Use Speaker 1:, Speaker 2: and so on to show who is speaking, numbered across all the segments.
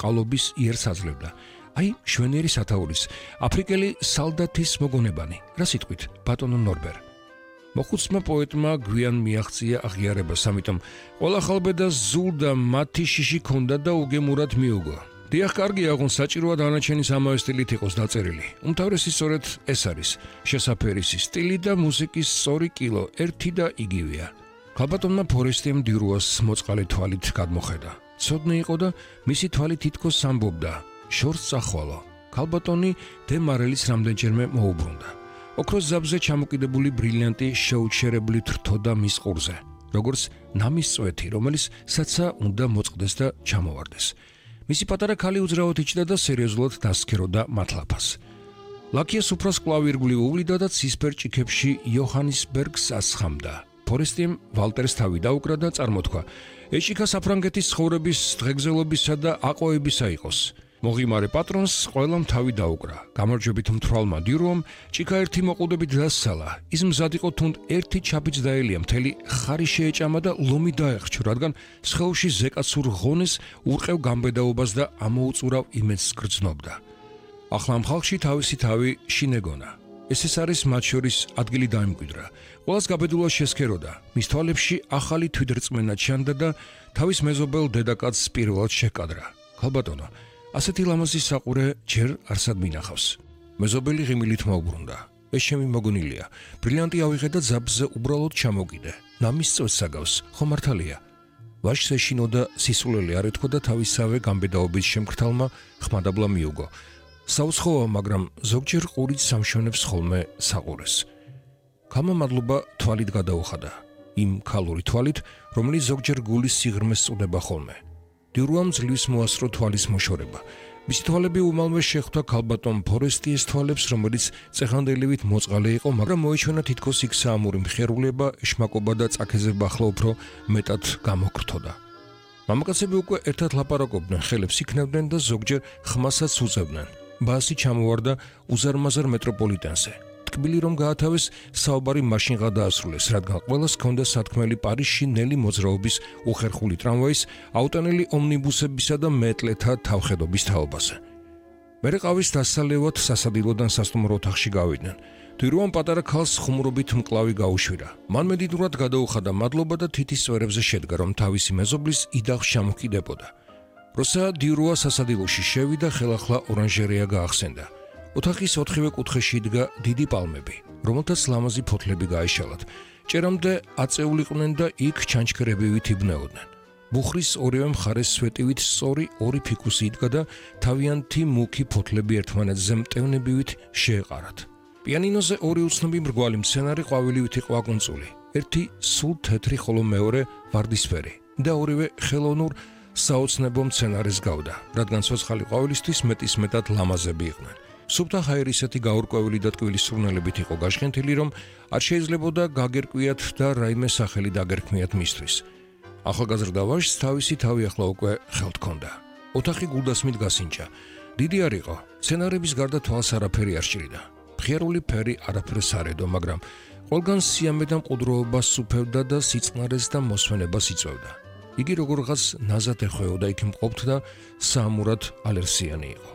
Speaker 1: ყალობის იერს აძლევდა. აი, შვენიერი სათაურის, აფრიკელი სალდათის მოგონებანი, რა სიტყვით, ბატონო ნორბერ. მოხუცმა პოეტმა გვიან მიაღწია აღიარებას, ამიტომ ყველა ხალბედას ზულდა მათი შიში ქონდა და უგემურად მიუგო. დიახ, კარგია, აღონ საჭიროა დანარჩენის ამავე სტილით იყოს დაწერილი. უმთავრესი სწორედ ეს არის, შესაფერისი სტილი და მუსიკის სწორი კილო, ერთი და იგივეა. ქალბატონმა ფორესტიემ დიურუას მოწყალე თვალით გადმოხედა. ცოდნე იყო და მისი თვალი თითქოს ამბობდა, შორს წახვალო. ქალბატონი დე მარელის რამდენჯერმე მოუბრუნდა. ოქროს ზაბზე ჩამოკიდებული ბრილიანტი შეუჩერებლით რთოდა მის ყურზე, როგორც ნამის წვეთი, რომელიც საცა უნდა მოწყდეს და ჩამოვარდეს. მისი პატარა ქალი უძრავად იჭდა და სერიოზულად დასქეროდა მათლაფას. ლაკიას უფროს კლავ ირგვლივ უვლიდა და ცისფერ ჭიქებში იოჰანისბერგს ასხამდა. ფორესტიემ ვალტერს თავი დაუკრა და წარმოთქვა, ეჭიქა საფრანგეთის ცხოვრების დღეგრძელობისა და აყვავებისა იყოს. მოღიმარე პატრონს ყველამ თავი დაუკრა. გამარჯვებით მთვრალმა დიურუამ ჭიქა ერთი მოყუდებით დასალა. ის მზად იყო თუნდ ერთი ჩაბიც დაელია, მთელი ხარი შეეჭამა და ლომი დაეხრჩო, რადგან სხეულში ზეკაცურ ღონეს ურყევ გამბედაობას და ამოუწურავ იმედს გრძნობდა. ახლა ამ ხალხში თავისი თავი შინეგონა. ეს არის მათ შორის ადგილი დაიმკვიდრა. ყველას გაბედულად შესქეროდა. მის თვალებში ახალი თვითრწმენა ჩანდა და თავის მეზობელ დედაკაცს პირველად შეკადრა. ქალბატონო, ასეთი ლამაზი საყურე ჯერ არსად მინახავს. მეზობელი ღიმილით მოუბრუნდა. ეს ჩემი მოგონილია. ბრილიანტი ავიღე და ზაბზე უბრალოდ ჩამოგიდე. ნამის წვეთს აგავს, ხო მართალია? ვაჟს ეშინო და სისულელი არ ეთქვა და თავისავე გამბედაობის შემკრთალმა ხმადაბლა მიუგო. საუცხოა, მაგრამ ზოგჯერ ყურით სამშვენებს ხოლმე საყურეს. ქალმა მადლობა თვალით გადაუხადა. იმ ქალური თვალით, რომელიც ზოგჯერ გულის სიღრმეს წუდება ხოლმე. დიურუამ ძლივს მოასწრო თვალის მოშორება. მისი თვალები უმალმე შეხვდა ქალბატონ ფორესტიეს თვალებს, რომელიც წეხანდელივით მოწყალე იყო, მაგრამ მოიჩვენა თითქოს იქ საამური მხიარულება, ეშმაკობა და წაქეზება ახლა უფრო მეტად გამოკრთოდა. მამაკაცები უკვე ერთად ლაპარაკობდნენ, ხელებს იქნებდნენ და ზოგჯერ ხმასაც უწევდნენ. ბასი ჩამოვარდა უზარმაზარ მეტროპოლიტენზე. ტკბილი რომ გაათავეს, საუბარი მაშინღა დაასრულეს, რადგან ყველას ჰქონდა სათქმელი პარიზში ნელი მოძრაობის უხერხული ტრამვაის, აუტანელი ომნიბუსებისა და მეტლეთა თავხედობის თაობაზე. მერე ყავის დასალევად სასადილოდან სასტუმრო ოთახში გავიდნენ. დიურუამ პატარა ქალს ხუმრობით მკლავი გაუშვირა. მან მედიდურად გადაუხადა მადლობა და თითის წვერებზე შედგა, რომ თავისი მეზობლის იდაღს ჩამოჰკიდებოდა. როცა დიურუა სასადილოში შევიდა, ხელახლა ორანჟერეა გაახსენდა. ოთახის ოთხივე კუთხეში იდგა დიდი პალმები, რომელთაც ლამაზი ფოთლები გაეშალათ. ჭერამდე აწეულიყვნენ და იქ ჩანჩქერებივით იბნეოდნენ. ბუხრის ორივე მხარეს სვეტივით სწორი ორი ფიქუსი იდგა და თავიანთი მუქი ფოთლები ერთმანეთზე მტევნებივით შეეყარათ. პიანინოზე ორი უცნობი მრგვალი მცენარე ყვავილივით იყო აკუნწული. ერთი სულ თეთრი, ხოლო მეორე ვარდისფერი და ორივე ხელოვნურ საოცნებო მცენარეს გავდა, რადგან ცოცხალი ყვავილისთვის მეტისმეტად ლამაზები იყვნენ. სუფთა ჰაერისეთი გაურკვეველი და ტკბილი სურნელებით იყო გაშხენთილი, რომ არ შეიძლებოდა გაგერკვიათ და რაიმე სახელი დაგერქმიათ მისთვის. ახალგაზრდა ვაჟს თავისი თავი ახლა უკვე ხელთ ჰქონდა. ოთახი გულდასმით გასინჯა. დიდი არ იყო, მცენარების გარდა თვალს არაფერი არ სჭირდა. მხიარული ფერი არაფერს არ ედო, მაგრამ ყველგან სიამე და მყუდროობა სუფევდა და სიწყნარეს და მოსვენებას იწვევდა. იგი როგორღაც ნაზად ეხვეოდა იქ მყოფთ და საამურად ალერსიანი იყო.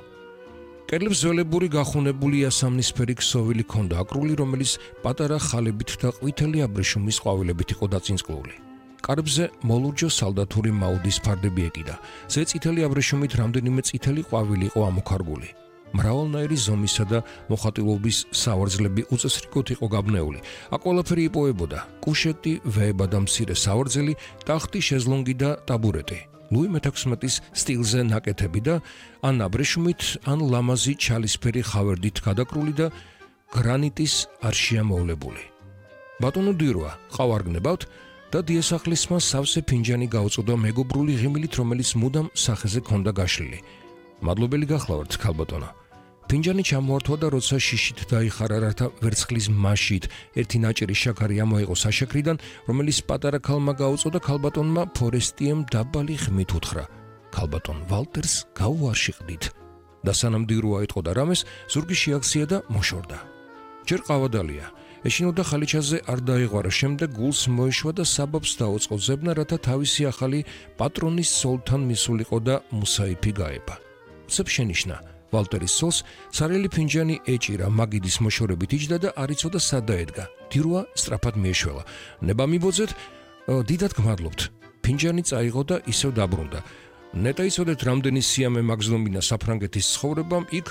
Speaker 1: კედლებს ველებური გახუნებული ასამნისფერი ქსოვილი ჰქონდა აკრული, რომელიც პატარა ხალებით და ყვითელი აბრეშუმის ყვავილებით იყო დაწინწკლული. კარებზე მოლურჯო სალდათური მაუდის ფარდები ეკიდა. ზე წითელი აბრეშუმით რამდენიმე წითელი ყვავილი იყო ამოქარგული. მრავალნაირი ზომისა და მოხატულობის სავარძლები უწესრიგოდ იყო გაბნეული. აქ ყველაფერი იპოვებოდა: კუშეტი, ვეება და მცირე სავარძელი, ტახტი, შეზლონგი და ტაბურეტი. ლუი მე-16-ის სტილზე ნაკეთები და ან აბრეშუმით, ან ლამაზი ჩალისფერი ხავერდით გადაკრული და გრანიტის არშია მოვლებული. ბატონო დიურუა, ყავ არ გნებავთ? და დიასახლისმა სავსე ფინჯანი გაუწოდა მეგობრული ღიმილით, რომელიც მუდამ სახეზე ჰქონდა გაშლილი. მადლობელი გახლავართ, ქალბატონო. ფინჯანი ჩამოართვა და როცა შიშით დაიხარა, რათა ვერცხლის მასით ერთი ნაჭერი შაქარი ამოიღო საშაქრიდან, რომელიც პატარა ქალმა გაუწოდა, ქალბატონმა ფორესტიემ დაბალი ხმით უთხრა: ქალბატონ ვალტერს გაუარშიყდით. და სანამ დიურუა ეტყოდა რამეს, ზურგი შეაქცია და მოშორდა. ჯერ ყავადალია. ეშინოდა ხალიჩაზე არ დაეღვარა, შემდეგ გულს მოეშვა და საბაბს დაუწყო ზებნა, რათა თავისი ახალი პატრონის სოლთან მისულიყო და მუსაიფი გაება. უცებ შენიშნა ვალტერის სოლს ცარიელი ფინჯანი ეჭირა, მაგიდის მოშორებით იჯდა და არ იცოდა სად დაედგა. დირუა სწრაფად მიეშველა. ნება მიბოძეთ, დიდად გმადლობთ. ფინჯანი წაიღო და ისევ დაბრუნდა. ნეტა იცოდეთ, რამდენი სიამე მაგზნობინა საფრანგეთის ცხოვრებამ იქ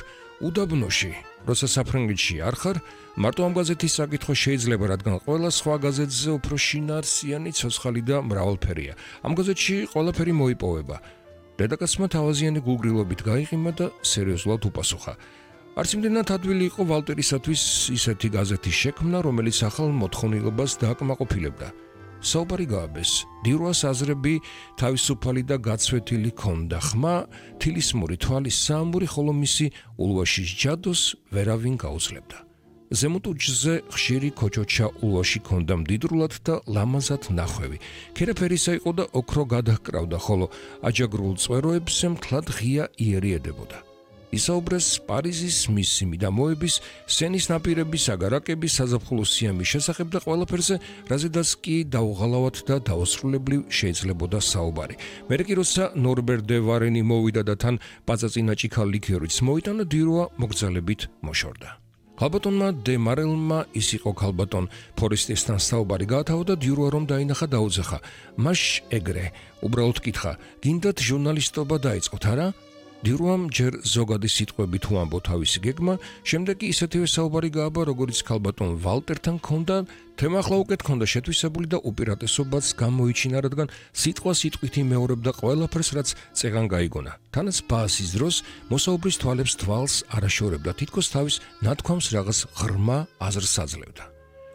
Speaker 1: უდაბნოში. როცა საფრანგეთში არ ხარ, მარტო ამ გაზეთის საკითხო შეიძლება, რადგან ყველა სხვა გაზეთზე უფრო შინაარსიანი, ცოცხალი და მრავალფერია. ამ გაზეთში ყველაფერი მოიპოვება. რედაქცია თავაზიანი გულგრილობით გაიყიმა და სერიოზულად უპასუხა. არც იმდენად ადვილი იყო ვალტერისათვის ისეთი გაზეთის შექმნა, რომელიც ახალ მოთხოვნილებას დააკმაყოფილებდა. საუბარი გააბეს. დირუას აზრები თავისუფალი და გაცვეთილი ჰქონდა. ხმა, თილისმური თვალის საამური, ხოლო მისი ულვაშის ჯადოს ვერავინ გაუძლებდა. ზემოთ უჯზე ხშირი ქოჩოჩა ულვაში ჰქონდა მდიდრულად და ლამაზად ნახვევი. ქერაფერისა იყო და ოქრო გადაჰკრავდა, ხოლო აჯაგრულ წვეროებზე მთლად ღია იერი ედებოდა. ისაუბრეს პარიზის მისი მიდამოების, სენის ნაპირების, აგარაკების, საზაფხულო სიამის შესახებ და ყველაფერზე, რაზედაც კი დაუღალავად და დაუსრულებლივ შეიძლებოდა საუბარი. მერე კი როცა ნორბერ დე ვარენი მოვიდა და თან პაწაწინა ჭიქა ლიქიორიც მოიტანა, დირუა მოგზალებით მოშორდა. ქალბატონმა დე მარელმა ის იყო ქალბატონ ფორესტესთან საუბარი გაათავა და დირუა რომ დაინახა დაუძახა. მას ეგრე, უბრალოდ კითხა, გინდათ ჟურნალისტობა დაიწყოთ, არა? დირუამ ჯერ ზოგადი სიტყვებით უამბო თავისი გეგმა, შემდეგ კი ისეთივე საუბარი გააბა, როგორც ქალბატონ ვალტერთან ჰქონდა, თემა ახლა უკეთ ჰქონდა შეთვისებული და უპირატესობაც გამოიჩინა, რადგან სიტყვა სიტყვით იმეორებდა ყველაფერს, რაც წეღან გაიგონა. თანაც ბაასის დროს მოსაუბრის თვალებს თვალს არაშორებდა, თითქოს თავის ნათქვამს რაღაც ღრმა აზრს აძლევდა.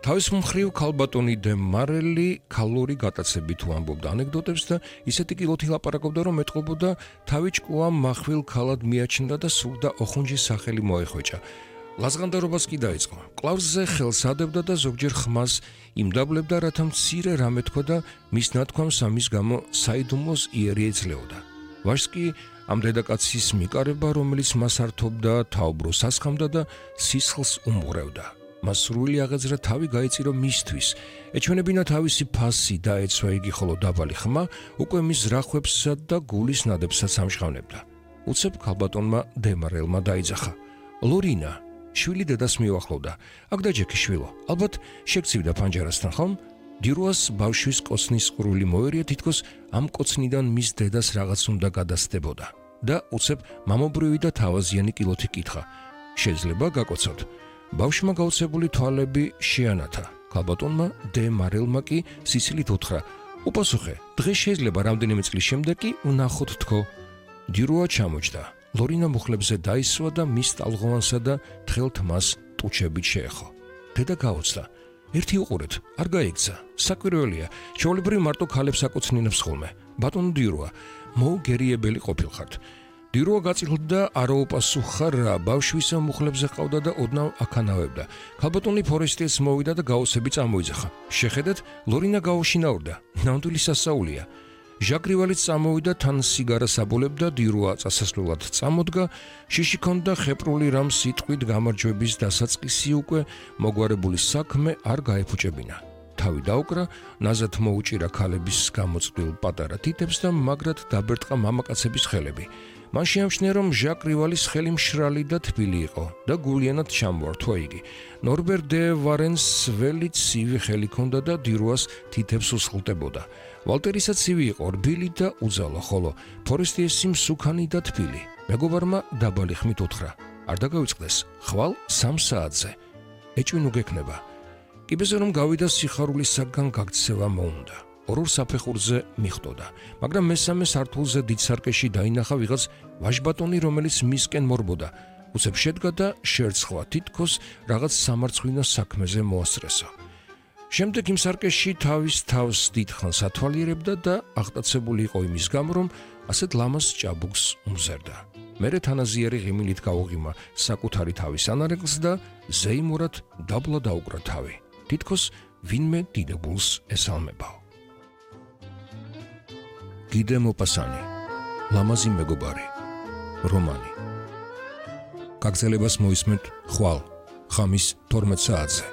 Speaker 1: თავის მხრივ ქალბატონი დე მარელი ქალური გატაცებით უამბობდა ანეკდოტებს და ისეთი კილოთი ლაპარაკობდა, რომ ეტყობოდა თავი ჭკუა מחვილ ქალად მიაჩნდა და სურდა ოხუნჯის სახელი მოეხვეჭა. ლაზღანდარობას კი დაიწყო. კლავსზე ხელს ადებდა და ზოგჯერ ხმას იმდაბლებდა, რათა მცირე რამე თქვა და მის ნათქვამს ამის გამო საიდუმლოს იერი ეძლეოდა. ვაჟს კი ამ დედაკაცის მიკარება, რომელიც მას ართობდა, თაუბროს ასხამდა და სისხლს უმღრევდა. მას სრული აღეძრა თავი გაიწირო მისთვის. ეჩვენებინა თავისი ფასი დაეცვა იგი, ხოლო დაბალი ხმა უკვე მის ზრახვებსა და გულის ნადებსაც ამჟღავნებდა. უცებ ქალბატონმა დე მარელმა დაიძახა. ლორინა, შვილი დედას მიუახლოვდა. აქ დაჯექი შვილო, ალბათ შეგცივდა პანჯარასთან, ხომ? დირუას ბავშვის კოცნის ყრული მოერია, თითქოს ამ კოცნიდან მის დედას რაღაც უნდა გადასდებოდა. და უცებ მამობრივი და თავაზიანი კილოთი კითხა. შეიძლება გაკოცოთ? ბავშვმა გაუცებული თვალები შეანათა. ქალბატონმა დე მარელმა კი სიცილით უთხრა. უპასუხე, დღეს შეიძლება რამდენიმე წლის შემდეგ კი ვნახოთ თქო. დირუა ჩამოჯდა. ლორინა მუხლებზე დაისვა და მის ტალღოვანსა და თხელ თმას ტუჩებით შეეხო. დედა გაოცდა. ერთი უყურეთ, არ გაიქცა. საკვირველია, ჩვეულებრივ მარტო ქალებს აკოცნინებს ხოლმე. ბატონო დირუა, მოუგერიებელი ყოფილხართ. დირუა გაწილდა არაუპასუხა რა, ბავშვის მუხლებზე ყავდა და ოდნავ აქანავებდა. ქალბატონი ფორესტეს მოვიდა და გაოცები წამოიძახა. შეხედეთ, ლორინა გაუშინაურდა. ნამდვილი სასაულია. ჟაგრივალიც წამოვიდა, თან სიგარას აბოლებდა, დირუა წასასვლელად წამოდგა, შიში ქონდა ხეპრული რამ სიტყვით გამარჯვების დასაწყისი უკვე მოგვარებული საქმე არ გაეფუჭებინა. თავი დაუკრა, ნაზად მოუჭირა ქალების გამოწვდილ პატარა თითებს და მაგრად დაბერტყა მამაკაცების ხელები. მან შეამჩნია, რომ ჟაკ რივალის ხელი მშრალი და თბილი იყო და გულიანად ჩამოართვა იგი. ნორბერ დე ვარენს ველი ცივი ხელი ჰქონდა და დირუას თითებს უსხლტებოდა. ვალტერისაც ცივი იყო, რბილი და უძალო, ხოლო ფორესტიესი მსუქანი და თბილი. მეგობარმა დაბალი ხმით უთხრა. არ დაგავიწყდეს, ხვალ 3 საათზე. ეჭვინუ გექნება. კიბეზე რომ გავიდა, სიხარულისაგან გაქცევა მოუნდა. ორ საფეხურზე მიხვდოდა, მაგრამ მესამე სართულზე დიდ სარკეში დაინახა ვიღაც ვაჟბატონი, რომელიც მისკენ მორბოდა. უცებ შედგა და შერცხვა, თითქოს რაღაც სამარცხვინო საქმეზე მოასწრესა. შემდეგ იმ სარკეში თავის თავს დიდხანს ათვალიერებდა და აღტაცებული იყო იმის გამო, რომ ასეთ ლამაზ ჭაბუკს უმზერდა. მერე თანაზიერი ღიმილით გაუღიმა საკუთარი თავის ანარეგლს და ზეიმურად დაბლა დაუკრა თავი. თითქოს ვინმე დიდებულს ესალმებაო. გიდე მოპასანი, ლამაზი მეგობარი, რომანი. გაგრძელებას მოისმენთ ხვალ, ხამის 12 საათზე.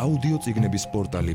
Speaker 2: აუდიო წიგნების პორტალი